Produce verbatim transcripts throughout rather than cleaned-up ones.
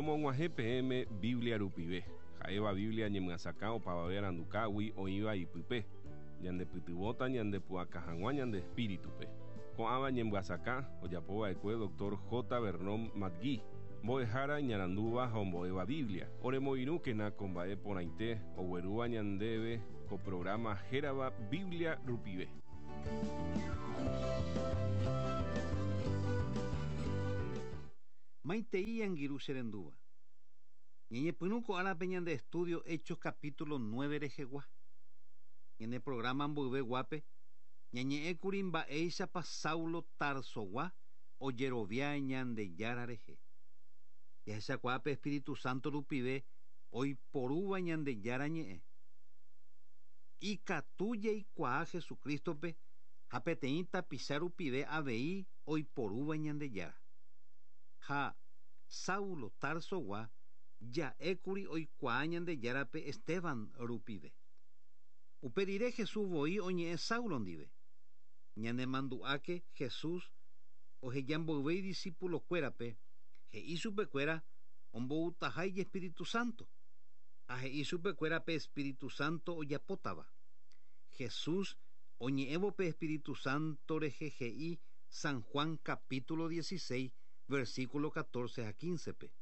Romog̃uahẽ peẽme Biblia rupive. Ha'éva Biblia ñemyasakã opavave arandukágui oĩva ipype. Ñandepytyvõta ñandepu'aka hag̃ua ñande espíritupe. Ko'ãva ñemyasakã ojapova'ekue doctor J. Vernon McGee, mbo'ehára iñarandúva ha ombo'éva Biblia. Oremoirũkena ko mba'e porãite oguerúva ñandéve ko programa hérava Biblia rupive. Maitei angirũ che rendúva. Ñañepyrũ ko árape ñande estudio Hechos capítulo nueve rehegua. Ñane programa mboyveguápe, ñañe'ẽkuri mba'éichapa Saulo Tarsogua ojerovia Ñandejára rehe. Jahechakuaápe Espíritu Santo rupive oiporúva Ñandejára ñe'ẽ. Ikatu jaikuaa Jesucristope ha peteĩ tapicha rupive avei oiporúva Ñandejára. Ha Saulo Tarsogua ja'ékuri oikuaa Ñandejárape Esteban rupive. Upe rire Jesús voi oñe'ẽ Saulo ndive. Ñanemandu'áke Jesús ohejamboyve idiscípulokuérape he'i chupekuéra omboutaha Espíritu Santo. Ha he'i chupekuérape Espíritu Santo ojapótava. Jesús oñe'ẽvo pe Espíritu Santo rehe he'i San Juan capítulo dieciséis versículo catorce a quince pe.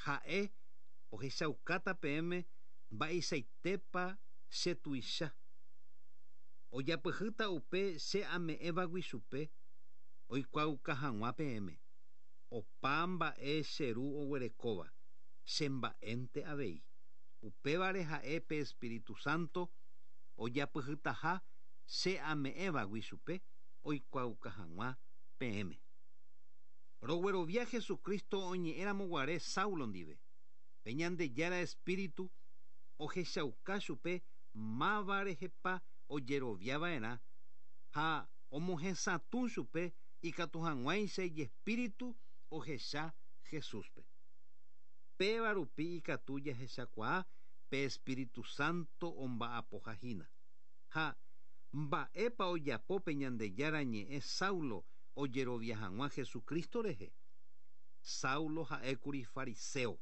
Ha'e ohechaukáta peẽme mba'eichaitépa che tuicha. Ojapyhýta upe che ame'ẽvagui chupe oikuaauka hag̃ua peẽme. Opa mba'e che ru oguerekóva, che mba'énte avei. Upévare ha'e pe Espíritu Santo ojapyhýtaha che ame'ẽvagui chupe oikuaauka hag̃ua peẽme. Roguerovia Jesucristo oñe'ẽramoguare Saulo ndive. Pe Ñandejára Espíritu ohechauka chupe máva rehepa ojeroviava'erã ha omohesatũ chupe ikatu hag̃uáicha ijespíritu ohecha Jesúspe. Péva rupi ikatu jahechakuaa pe Espíritu Santo omba'apohahína. Ha mba'épa ojapo pe Ñandejára ñe'ẽ Saulo ojerovia hag̃ua Jesucristo rehe. Saulo ha'ékuri fariseo.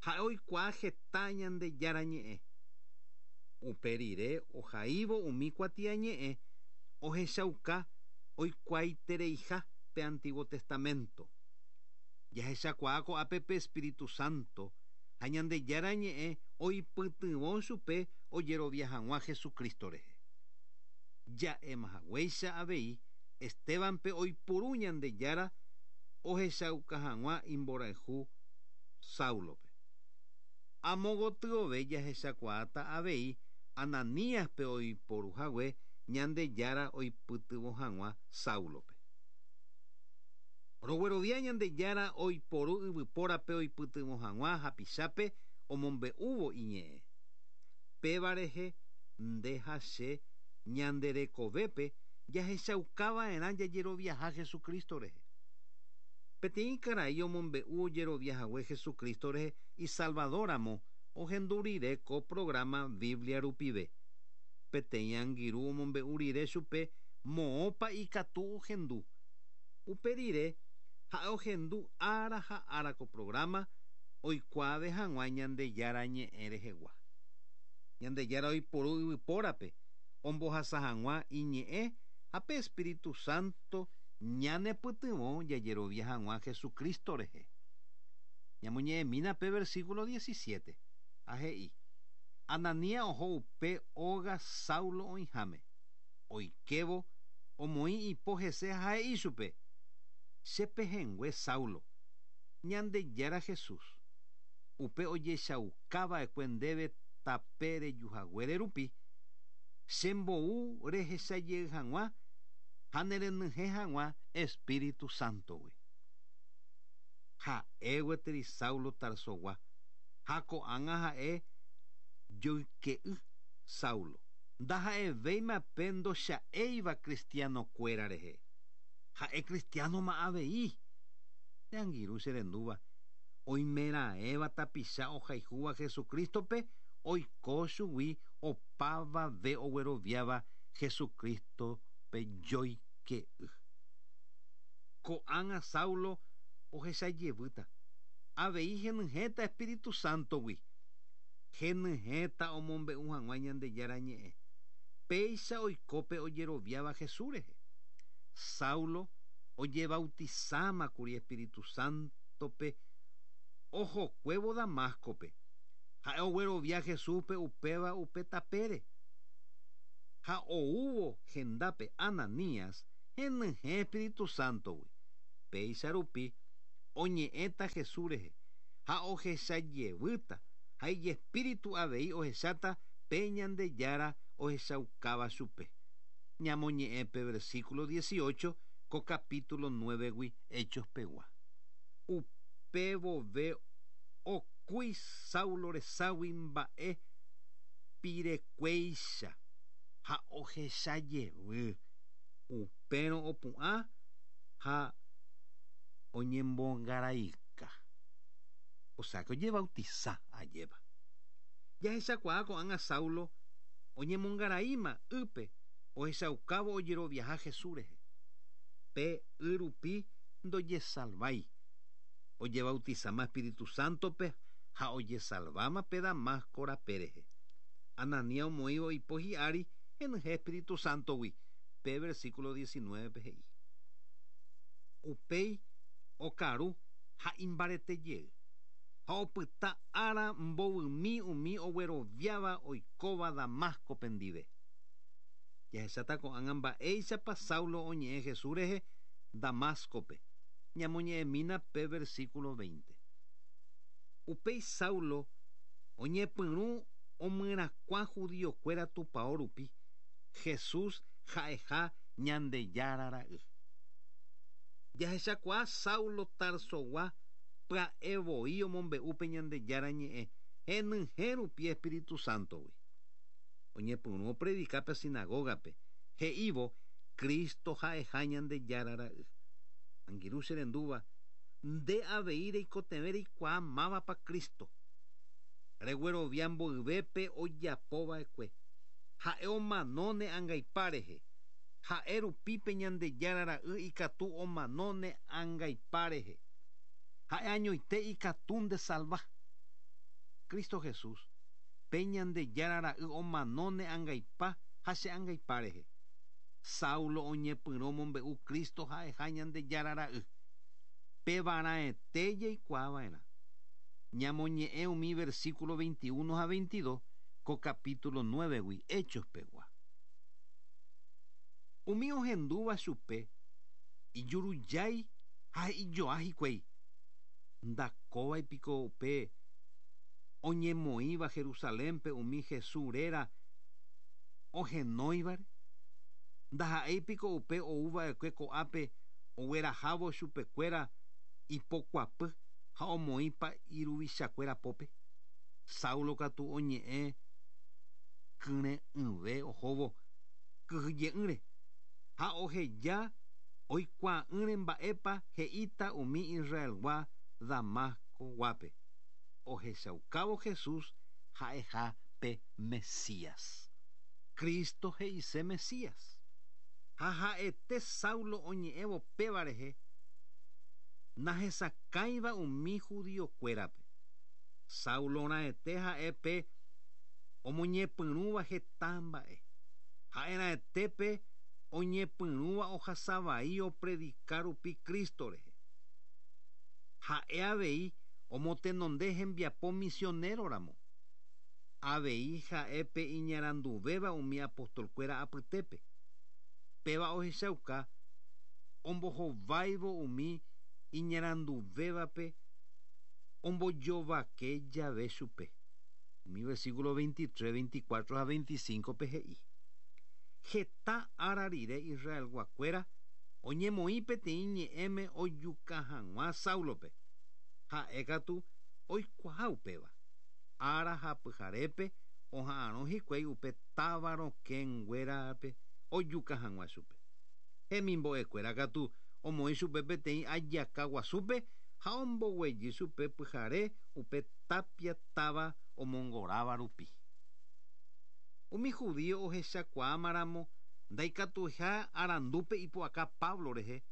Ha'e oikuaa heta Ñandejára ñe'ẽ. Upe rire ohaívo umi kuatiañe'ẽ ohechauka oikuaaitereiha pe Antiguo Testamento. Jahechakuaa ko'ápe pe Espíritu Santo ha Ñandejára ñe'ẽ oipytyvõ chupe ojerovia hag̃ua Jesucristo rehe. Ja'emahaguéicha avei Estebanpe oipuru Ñandejára ohechauka hag̃ua imborayhu Saulope. Amogotyove jahechakuaáta avei Ananíaspe oiporuhague Ñandejára oipytyvõ hag̃ua Saulope. Roguerovia Ñandejára oiporu yvypórape oipytyvõ hag̃ua hapichápe omombe'úvo iñe'ẽ. Péva rehe nde ha che ñanderekovépe jahechaukava'erã jajeroviaha Jesucristo rehe. Peteĩ karai omombe'u ojeroviahague Jesucristo rehe isalvadóramo ohendu rire ko programa Biblia rupive. Peteĩ angirũ omombe'u rire chupe moõpa ikatu ohendu. Upe rire ha'e ohendu ára ha ára ko programa oikuaave hag̃ua Ñandejára ñe'ẽ rehegua. Ñandejára oiporu yvypórape ombohasa hag̃ua iñe'ẽ ha pe Espíritu Santo ñanepytyvõ jajerovia hag̃ua Jesucristo rehe. Ñamoñe'ẽmína pe versículo diecisiete. Ha he'i Ananías oho upe óga Saulo oĩháme. Oikévo omoĩ ipo hese ha he'i chupe: Che pehẽngue Saulo, Ñandejára Jesús, upe ojechaukava'ekue ndéve tape rejuhaguére rupi, chembou rehechajey hag̃ua ha nerenyhẽ hag̃ua Espíritu Santogui. Ha'e gueteri Saulo Tarsogua, ha ko'ág̃a ha'e joyke'y Saulo. Ndaha'evéima pe ndocha'éiva cristianokuéra rehe. Ha'e cristianoma avei. Che angirũ che rendúva, oimeraẽva tapicha ohayhúva Jesucristope oiko chugui opavave ogueroviáva Jesucristope joyke'y. Ko'ág̃a Saulo ohechajevýta. Avei henyhẽta Espíritu Santogui. Henyhẽta omombe'u hag̃ua Ñandejára ñe'ẽ. Péicha oikópe ojeroviáva Jesús rehe. Saulo ojebautizámakuri Espíritu Santope ohokuévo Damascope. Ha'e oguerovia Jesúspe upéva upe tapére. Ha oúvo hendápe Ananías henyhẽ Espíritu Santogui. Péicha rupi oñe'ẽta Jesús rehe ha ohechajevýta ha ijespíritu avei ohecháta pe Ñandejára ohechaukáva chupe. Ñamoñe'ẽ pe versículo dieciocho ko capítulo nueve-gui Hechos pegua. Upe vove okúi Saulo reságui mba'e pirekuéicha ha ohechajevy. Upérõ opu'ã ha oñembongaraika. O sea que ojebautiza ajépa. Jahechakuaa ko'ág̃a Saulo oñemongaraíma ýpe ohechaukávo ojeroviaha Jesús rehe. Pe y rupi ndojesalvái. Ojebautizama Espíritu Santope ha ojesalváma pe Damasco rape rehe. Ananías omoĩvo ipo hi'ári henyhẽ Espíritu Santogui. Pe versículo diecinueve he'i. Upéi okaru ha imbaretejey. Ha opyta ára mbovymi umi ogueroviáva oikóva Damasco ndive. Jahecháta ko'ág̃a mba'éichapa Saulo oñe'ẽ Jesús rehe Damascope. Ñamoñe'ẽmína pe versículo veinte. Upéi Saulo oñepyrũ omyerakuã judiokuéra tupão rupi Jesús ha'eha Ñandejára ra'y. Jahechakuaa Saulo Tarsogua pya'e voi omombe'u pe Ñandejára ñe'ẽ henyhẽ rupi Espíritu Santogui. Oñepyrũ opredika pe sinagogape he'ívo Cristo ha'eha Ñandejára ra'y. Angirũ che rendúva nde avei reikotevẽ reikuaa mávapa Cristo. Reguerovia mboyvépe ojapova'ekue. Ha'e omanóne angaipa rehe. Ha'e rupi pe Ñandejára ra'y ikatu omanóne angaipa rehe. Ha'e añoite ikatu ndesalva. Cristo Jesús pe Ñandejára ra'y omanóne angaipa ha che angaipa rehe. Saulo oñepyrũ omombe'u Cristo ha'eha Ñandejára ra'y. Pevarãete jaikuaava'erã. Ñamoñe'ẽ umi versículo veintiuno ha veintidós ko capítulo nueve-gui Hechos pegua. Umi ohendúva chupe ijurujái ha he'ijoa hikuái. Ndakóvai piko upe oñemoĩva Jerusalénpe umi Jesús réra ohenóivare. Ndaha'éi piko upe oúva'ekue ko'ápe oguerahávo chupekuéra ipokuapy ha omoĩpa iruvichakuéra pópe. Saulo katu oñe'ẽ kyre'ỹve ohóvo kyhyje'ỹre ha oheja oikuaa'ỹre mba'épa he'íta umi Israelgua Damasco guápe. Ohechaukávo Jesús ha'eha pe Mesías. Cristo he'ise Mesías. Ha ha'ete Saulo oñe'ẽvo péva rehe nahesakãiva umi judiokuérape. Saulo raẽte ha'e pe omoñepyrũva heta mba'e. Ha'erãetépe oñepyrũva ohasavai opredika rupi Cristo rehe. Ha'e avei omotenonde hembiapo misionero ramo. Avei ha'e pe iñaranduvéva umi apostolkuéra apytépe. Péva ohechauka ombohováivo umi iñaranduvévape ombojovake jave chupe. Umi versículo veintitrés, veinticuatro ha veinticinco pe he'i. Heta ára rire Israelguakuéra oñemoĩ peteĩ ñe'ẽme ojuka hag̃ua Saulope. Ha'e katu oikuaa upéva. Ára ha pyharépe oha'arõ hikuái upe táva rokẽnguérape ojuka hag̃ua chupe. Hemimbo'ekuéra katu omoĩ chupe peteĩ ajaka guasúpe ha omboguejy chupe pyhare upe tapia táva omongoráva rupi. Umi judío ohechakuaamaramo ndaikatuiha arandúpe ipu'aka Pablo rehe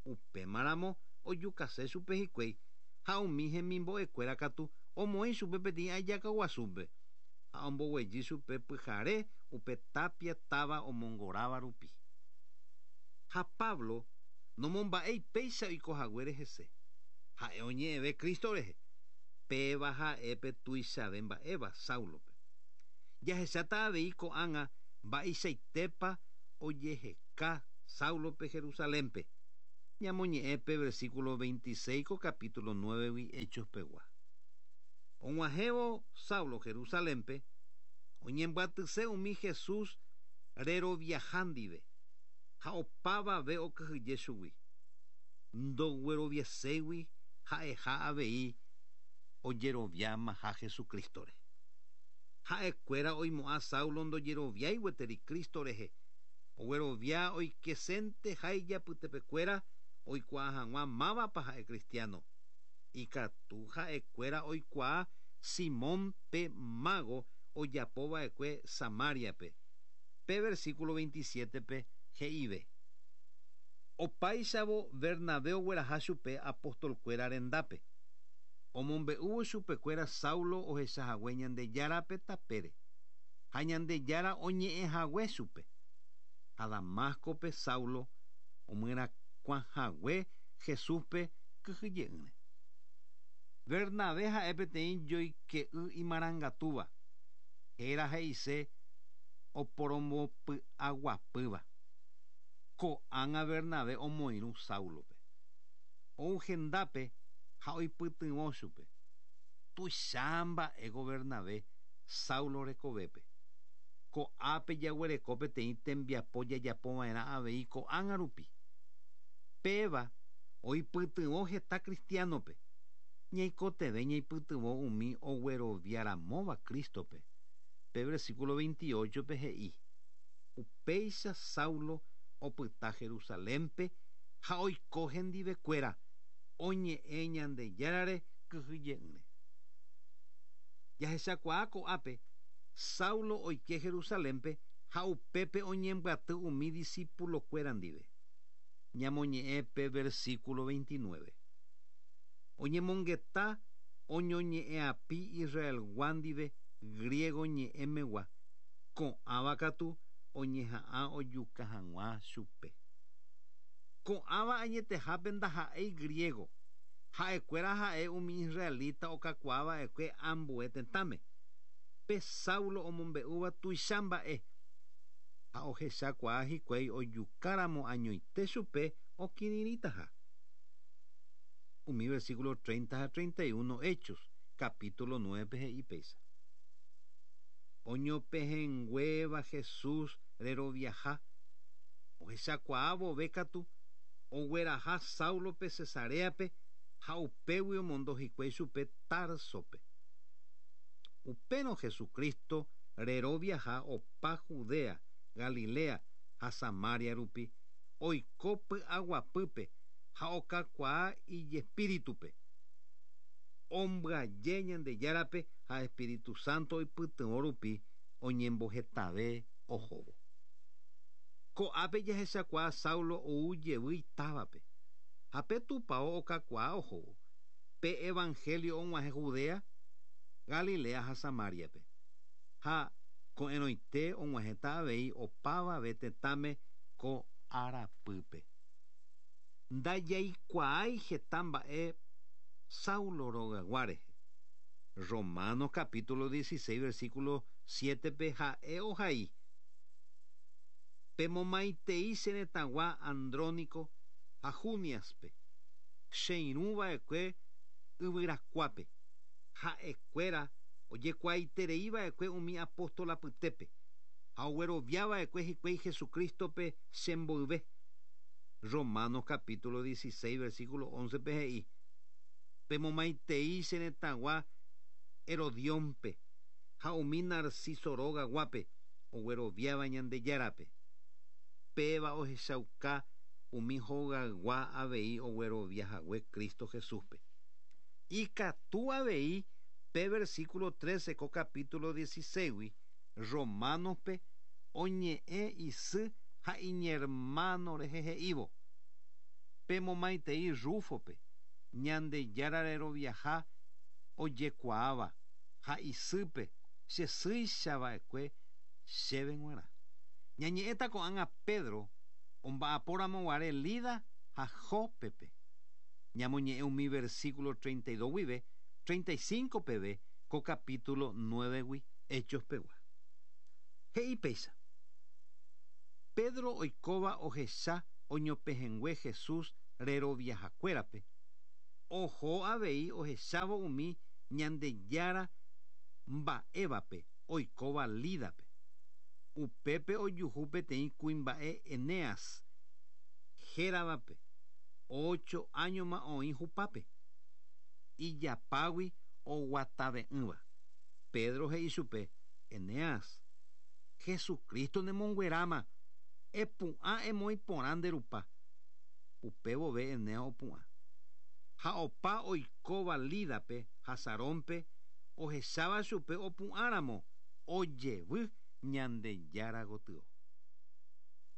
upémaramo ojukase chupe hikuái Ha umi hemimbo'ekuéra katu omoĩ chupe peteĩ ajakaguasúpe ha omboguejy chupe pyhare upe tapia táva omongoráva rupi. Ha Pablo nomomba'éi péicha oikohaguére hese. Ha'e oñe'ẽve Cristo rehe. Péva ha'épe tuichave mba'éva Saulope. Jahecháta avei ko'ág̃a mba'eichaitépa ojeheka Saulope Jerusalénpe. Ñamoñe'ẽ pe versículo veintiséis ko capítulo nueve Hechos pegua. Og̃uahẽvo Saulo Jerusalénpe oñembyatyse umi Jesús reroviaha ndive ha opavave okyhyje chugui. Ndogueroviaségui ha'eha avei ojeroviamaha Jesucristore. Ha'ekuéra oimo'ã Saulo ndojeroviái gueteri Cristo rehe. Oguerovia oikesénte ha ijapytepekuéra oikuaa hag̃ua mávapa ha'e cristiano. Ikatu ha'ekuéra oikuaa Simón pe mago ojapova'ekue Samariape. Pe versículo veintisiete-pe he'ive. Opáichavo Bernabé ogueraha chupe apostolkuéra rendápe. Omombe'úvo chupekuéra Saulo ohechahague Ñandejárape tapére. Ha Ñandejára oñe'ẽhague chupe. Ha Damascope Saulo omyerakuãhague Jesúspe kyhyje'ỹre. Bernabé ha'e peteĩ joyke'y imarangatúva. Héra he'ise oporombopy'aguapýva. Ko'ág̃a Bernabé omoirũ Saulope. Ou hendápe ha oipytyvõ chupe. Tuicha mba'éko Bernabé Saulo rekovépe. Ko'ápe jaguereko peteĩ tembiapo jajapova'erã avei ko'ág̃a rupi. Péva oipytyvõ heta cristianope. Ñaikotevẽ ñaipytyvõ umi ogueroviaramóva Cristope. Pe versículo veintiocho-pe he'i. Upéicha Saulo opyta Jerusalénpe ha oiko hendivekuéra oñe'ẽ Ñandejárare kyhyje'ỹre. Jahechakuaa ko'ápe Saulo oike Jerusalénpe ha upépe oñembyaty umi discípulokuéra ndive. Ñamoñe'ẽ pe versículo veintinueve. Oñemongeta oñoñe'ẽapi Israelgua ndive griego ñe'ẽmegua. Ko'ãva katu oñeha'ã ojuka hag̃ua chupe. Ko'ãva añetehápe ndaha'éi griego. Ha'ekuéra ha'e umi israelita okakuaava'ekue ambue tetãme. Pe Saulo omombe'úva tuicha mba'e. Ha ohechakuaa hikuái ojukáramo añoite chupe okirirĩtaha. Umi versículo treinta ha treinta y uno Hechos, capítulo nueve he'i péicha. Oñopehẽnguéva Jesús reroviaha. Ohechakuaa vove katu ogueraha Saulope Cesareape ha upégui omondo hikuái chupe Tarsope. Upérõ Jesucristo reroviaha opa Judea, Galilea ha Samaria rupi oiko py'aguapýpe ha okakuaa ijespíritupe. Ombyaje Ñandejárape ha Espíritu Santo oipytyvõ rupi oñembohetave ohóvo. Ko'ápe jahechakuaa Saulo ou jevy itávape. Ha pe tupão okakuaa ohóvo. Pe evangelio og̃uahẽ Judea, Galilea ha Samariape. Ha ko'ẽrõite og̃uahẽta avei opavave tetãme ko arapýpe. Ndajaikuaái heta mba'e Saulo rogaygua rehe. Romanos capítulo dieciséis versículo siete-pe ha'e ohai. Pemomaitei che retãgua Andrónico ha Juniaspe. Cheirũva'ekue yvyrakuápe. Ha'ekuéra ojekuaaitereiva'ekue umi apóstol apytépe. Ha ogueroviava'ekue hikuái Jesucristope chemboyve. Romanos capítulo dieciséis versículo once-pe he'i. Pemomaitei che retãgua Herodiónpe ha umi Narciso rogaguápe ogueroviáva Ñandejárape. Péva ohechauka umi hogaygua avei ogueroviahague Cristo Jesúspe. Ikatu avei pe versículo trece ko capítulo dieciséis Romanospe oñe'ẽ isy ha iñermano rehe he'ívo. Pemomaitei Rufope, Ñandejára reroviaha ojekuaáva ha isýpe chesýichava'ekue chéve g̃uarã. Ñañe'ẽta ko'ág̃a Pedro omba'apóramoguare Lida ha Jópepe. Ñamoñe'ẽ umi versículo treinta y dos guive treinta y cinco peve ko capítulo nueve-gui Hechos pegua. He'i péicha. Pedro oikóva ohecha oñopehẽngue Jesús reroviahakuérape. Oho avei ohechávo umi Ñandejára mba'évape oikóva Lídape. Upépe ojuhu peteĩ kuimba'e Eneas héravape ocho áñoma oĩ hupápe. Ijapágui oguatave'ỹva. Pedro he'i chupe, Eneas, Jesucristo nemongueráma, epu'ã emoĩ porã nde rupa. Upévove Eneas opu'ã. Ha opa oikóva Lídape ha Sarónpe ohecháva chupe opu'ãramo ojevy Ñandejára gotyo.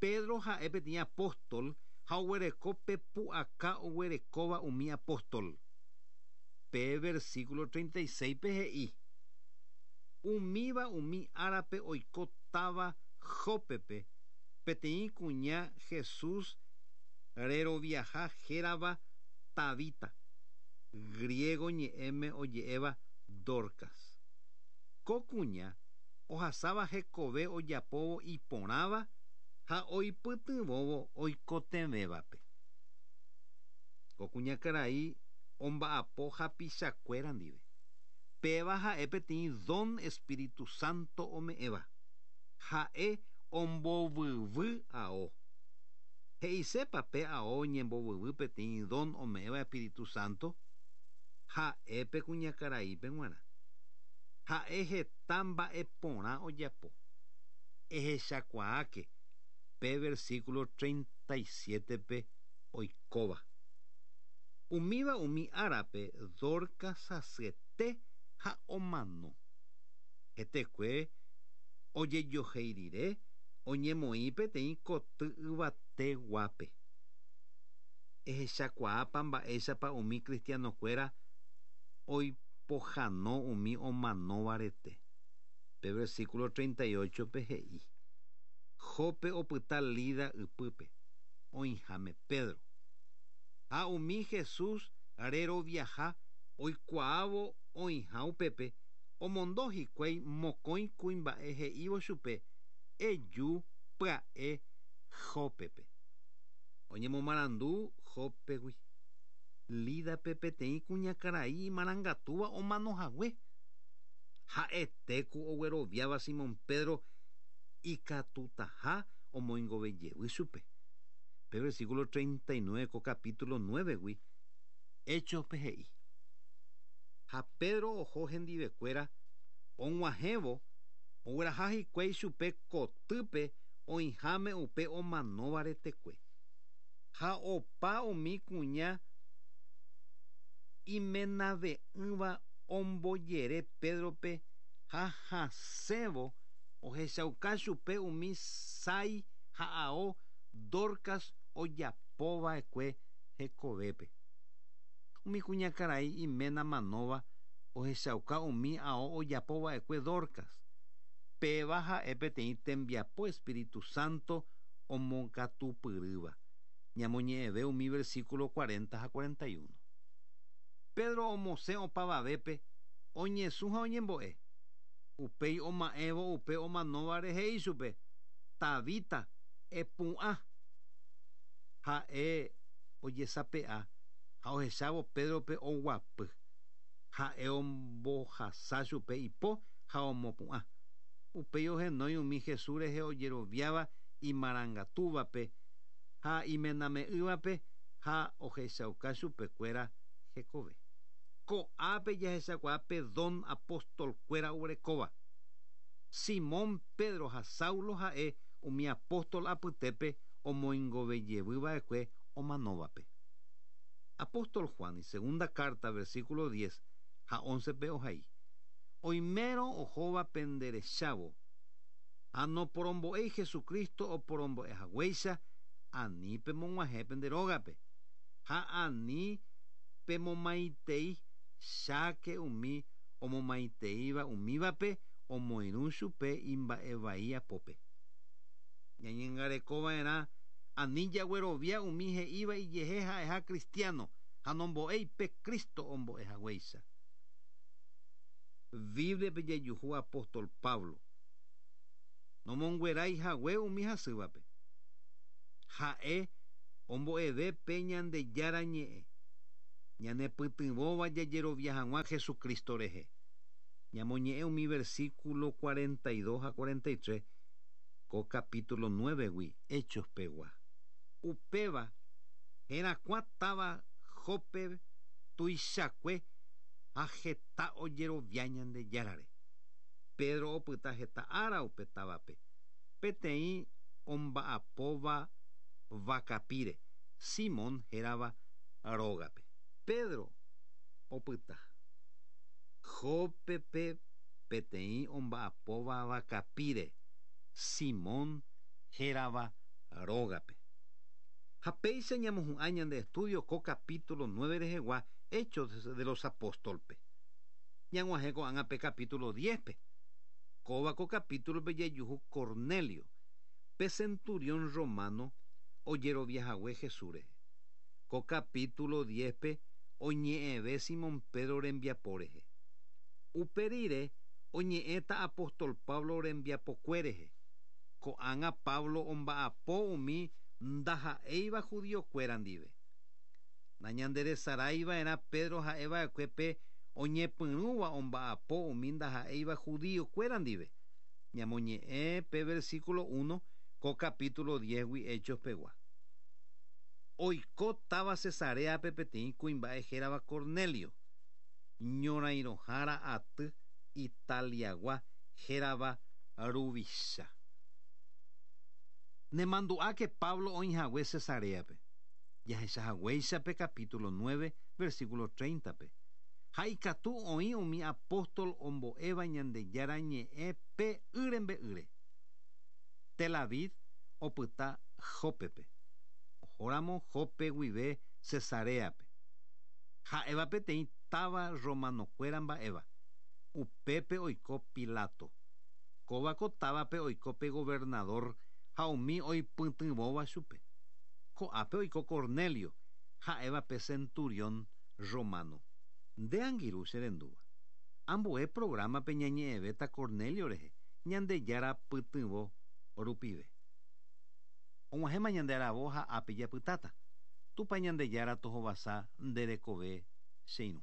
Pedro ha'e peteĩ apóstol ha oguereko pe pu'aka oguerekóva umi apóstol. Pe versículo treinta y seis pe he'i. Umíva umi árape oikótava Jópepe peteĩ kuña Jesús reroviaha hérava Tabita, griego ñe'ẽme oje'éva Dorcas. Ko kuña ohasáva hekove ojapóvo iporãva ha oipytyvõvo oikotevẽvape. Ko kuñakarai omba'apo hapichakuéra ndive. Péva ha'e peteĩ don Espíritu Santo ome'ẽva. Ha'e ombovyvy ao. He'isépa pe ao ñembovyvy peteĩ don ome'ẽva Espíritu Santo? Ha'e pe kuñakaraípe g̃uarã. Ha'e heta mba'e porã ojapo. Ehechakuaáke pe versículo treinta y siete-pe oikóva. Umíva umi árape Dorcas hasyete ha omano. Hetekue ojejohéi rire oñemoĩ peteĩ koty yvateguápe. Ehechakuaápa mba'éichapa umi cristianokuéra oipohãno umi omanóvarete. Pe versículo treinta y ocho-pe he'i. Jope opyta Lida ypýpe, oĩháme Pedro. Ha umi Jesús reroviaha oikuaávo oĩha upépe, omondo hikuái mokõi kuimba'e he'ívo chupe, eju pya'e Jópepe. Oñemomarandu Jópegui. Lídape peteĩ kuñakarai imarangatúva omanohague. Ha'etéku ogueroviáva Simón Pedro ikatutaha omoingovejevy chupe. Pe versículo treinta y nueve ko capítulo nueve-gui Hechos-pe he'i. Ha Pedro oho hendivekuéra og̃uahẽvo ogueraha hikuái chupe kotýpe oĩháme upe omanóva retekue. Ha opa umi kuña imenave'ỹva ombojere Pedrope ha hasẽvo ohechauka chupe umi sái ha ao Dorcas ojapova'ekue hekovépe. Umi kuñakarai iména manóva ohechauka umi ao ojapova'ekue Dorcas. Péva ha'e peteĩ tembiapo Espíritu Santo omokatupyrýva. Ñamoñe'ẽve umi versículo cuarenta ha cuarenta y uno. Pedro omosẽ opavavépe oñesũ ha oñembo'e. Upéi oma'ẽvo upe omanóvare he'i chupe, Tabita, epu'ã. Ha'e ojesape'a ha ohechávo Pedrope oguapy. Ha'e ombohasa chupe ipo ha omopu'ã. Upéi ohenói umi Jesús rehe ojeroviáva imarangatúvape ha imename'ỹvape ha ohechauka chupekuéra hekove. Ko'ápe jahechakuaa pe don apóstolkuéra oguerekóva. Simón Pedro ha Saulo ha'e umi apóstol apytépe omoingovejevýva'ekue omanóvape. Apóstol Juan, segunda carta, versículo diez ha once-pe ohai. Oimérõ ohóva penderechávo, ha noporombo'éi Jesucristo oporombo'ehaguéicha, ani pemog̃uahẽ pende rógape, ha ani Pemomaitei cháke umi omomaiteíva umívape omoirũ chupe imba'evai apópe. Ñañangarekova'erã ani jaguerovia umi he'íva ijehe ha'eha cristiano ha nombo'éi pe Cristo ombo'ehaguéicha. Bíbliape jajuhu apóstol Pablo nomonguerái hague umi hasývape. Ha'e ombo'eve pe Ñandejára ñe'ẽ ñanepytyvõva jajerovia hag̃ua Jesucristo rehe. Ñamoñe'ẽ umi versículo cuarenta y dos ha cuarenta y tres ko capítulo nueve gui Hechos pegua. Upéva herakuã táva Jope tuichakue ha heta ojerovia Ñandejárare. Pedro opyta heta ára upe távape. Peteĩ omba'apóva vakapíre, Simón hérava rógape. Pedro opyta Jópepe peteĩ omba'apóva vakapíre, Simón hérava rógape. Ha péicha ñamohu'ã ñande estudio ko capítulo nueve rehegua Hechos de los Apóstolpe. Ñag̃uahẽ ko'ág̃a pe capítulo diez-pe. Kóva ko capítulo-pe jajuhu Cornelio, pe centurión romano ojeroviahague Jesús rehe. Ko capítulo diez-pe oñe'ẽve Simón Pedro rembiapo rehe. Upe rire oñe'ẽta apóstol Pablo rembiapokue rehe. Ko'ág̃a Pablo omba'apo umi ndaha'éiva judiokuéra ndive. Nañanderesaraiva'erã Pedro ha'eva'ekue pe oñepyrũva omba'apo umi ndaha'éiva judiokuéra ndive. Ñamoñe'ẽ pe versículo uno ko capítulo diez gui Hechos pegua. Oiko táva Cesareape peteĩ kuimba'e hérava Cornelio, ñorairõhára aty Italiagua hérava ruvicha. Nemandu'áke Pablo oĩhague Cesareape. Jahechahaguéicha pe capítulo nueve versículo treinta-pe. Ha ikatu oĩ umi apóstol ombo'éva Ñandejára ñe'ẽ pe ýrembe'ýre. Tel Aviv opyta Jópepe. Ohóramo Jope guive Cesareape. Ha'éva peteĩ táva romanokuéra mba'éva. Upépe oiko Pilato. Kóva ko távape oiko pe gobernador ha umi oipytyvõva chupe. Ko'ápe oiko Cornelio, ha'éva pe centurión romano. Nde angirũ che rendúva. Ambue programa-pe ñañe'ẽvéta Cornelio rehe, Ñandejára pytyvõ rupive. Og̃uahẽma ñande aravo ha ápe japytáta. Tupã Ñandejára tohovasa nde rekove che irũ.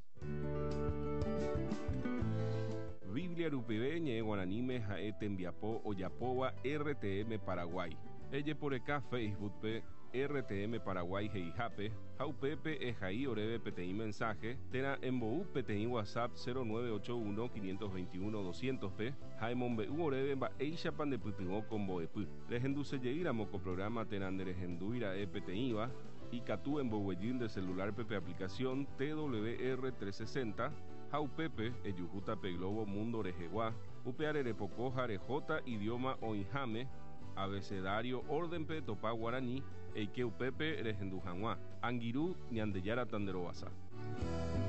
Biblia rupive ñe'ẽ guaraníme ha'e tembiapo ojapóva R T M Paraguay. Ejeporeka Facebook-pe R T M Paraguay he'ihápe ha upépe ehai oréve peteĩ mensaje térã embou peteĩ WhatsApp cero nueve ocho uno quinientos veintiuno doscientos-pe ha emombe'u oréve mba'éichapa ndepytyvõ ko mbo'epy. Rehendusejeýramo ko programa térã nderehendúira'e peteĩva ikatu emboguejy nde celular-pe pe aplicación T W R trescientos sesenta ha upépe ejuhúta pe Globo Mundo rehegua upe arerepoko ha rehóta idioma oĩháme abecedario orden-pe topa guarani eike upépe rehendu hag̃ua. Angirũ Ñandejára tanderovasa.